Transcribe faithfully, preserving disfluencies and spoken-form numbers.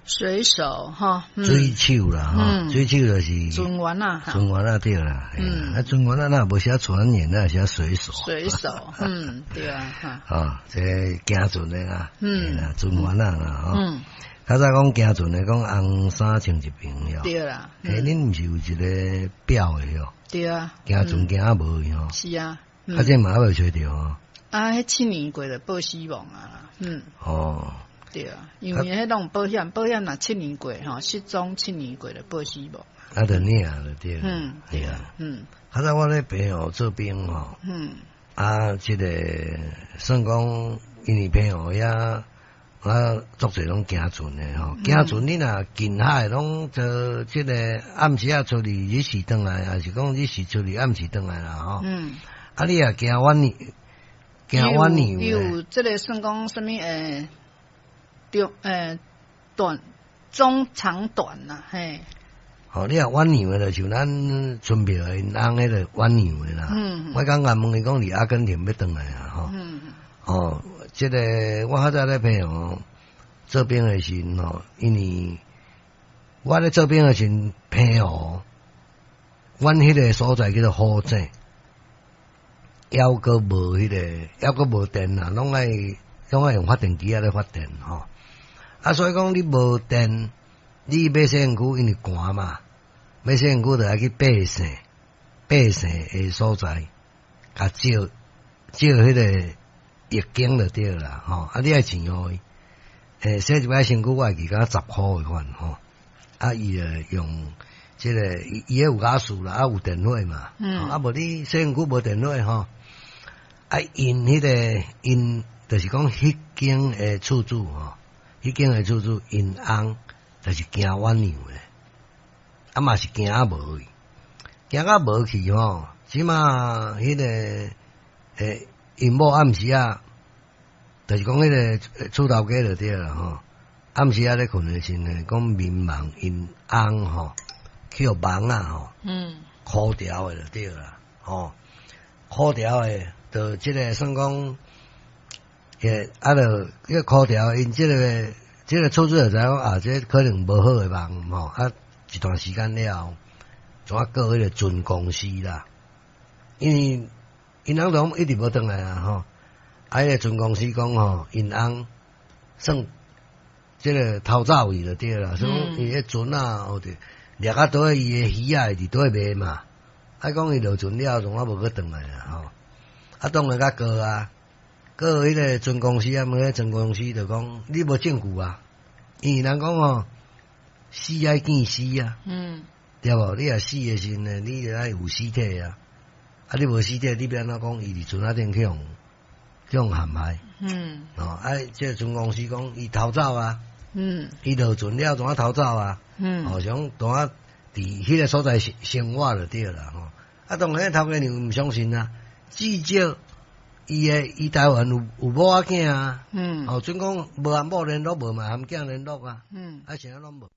水手吼，水手啦吼，水手就是船員啊，船員啊對啦，啊船員啊若無寫船員，那寫水手。水手，嗯，對啊，啊，這個行船的啦，嗯，船員啊啦，吼。較早講行船的，講紅衫穿一爿喲。對啦。欸，恁毋是有一個表的喲？對啊。行船行啊無喲。是啊。啊，這嘛猶未揣著吼。啊，彼七年過就報死亡啊，嗯。哦。對啊，因為彼攏保險，保險若七年過吼，失蹤七年過就報死亡。啊，就領就對。嗯，對啊。嗯。較早我咧澎湖做兵吼。嗯。啊，這個算講因為澎湖遐。啊，足濟攏行船的吼，行船你若近海攏做這個暗時仔出去，日時轉來，抑是講日時出去，暗時轉來啦吼。嗯。啊，你若行遠行遠有有這個算講啥物欸？中欸短中長短啦，嘿。吼，你若遠洋的，就像咱春苗𪜶翁彼個遠洋的啦。嗯。我剛剛問伊講，佇阿根廷欲轉來啊，吼。嗯。哦，這個我較早咧澎湖做兵的時陣吼，因為我咧做兵的時陣，澎湖，阮彼個所在叫做虎井，猶閣無彼個，猶閣無電啦，攏愛攏愛用發電機仔咧發電吼。啊，所以講你無電，你欲洗身軀，因為寒嘛，欲洗身軀就愛去爬線，爬線的所在，共借借彼個浴巾就對啦，吼！啊，你愛錢予伊，欸，洗一擺身軀，我會記敢若十箍的款吼。啊，伊就用這個，伊伊彼有瓦斯啦，啊有電火嘛，嗯，啊無你洗身軀無電火吼，啊𪜶彼個𪜶就是講彼間的厝主吼，彼間的厝主𪜶翁就是行遠洋的，啊嘛是行啊無去，行啊無去吼，這馬彼個欸𪜶某暗時仔，就是講彼個厝頭家就對啦吼，暗時仔咧睏的時陣，講眠夢𪜶翁吼去予蠓仔吼，嗯，箍牢的就對啦，吼，箍牢的，就這個算講，欸啊就彼個箍牢，𪜶這個這個厝主就知影講啊，這可能無好的夢吼，啊一段時間了後，怎啊告彼個船公司啦，因為𪜶翁攏一直無轉來啊吼，啊彼個船公司講吼，𪜶翁算這個偷走去就對啦，所以伊彼船仔哦對，掠啊佗伊的魚仔會佇佗賣嘛，啊講伊落船了，從啊無閣轉來啊吼，啊當然共告啊，告彼個船公司啊，問彼船公司就講你無證據啊，因為人講吼，死愛見屍啊，嗯，對無？你若死的時陣，你就愛有屍體啊，啊你無屍體，你欲按怎講？伊佇船仔頂去予去予陷害，嗯，哦，啊，這個船公司講伊偷走啊，嗯，伊落船了，怎啊偷走啊？嗯，哦，像怎啊佇彼個所在生生活就對啦吼。啊，當然頭家娘毋相信啊，至少伊的伊台灣有有某仔囝啊，嗯，哦，準講無含某聯絡，無嘛含囝聯絡啊，嗯，啊，啥攏無。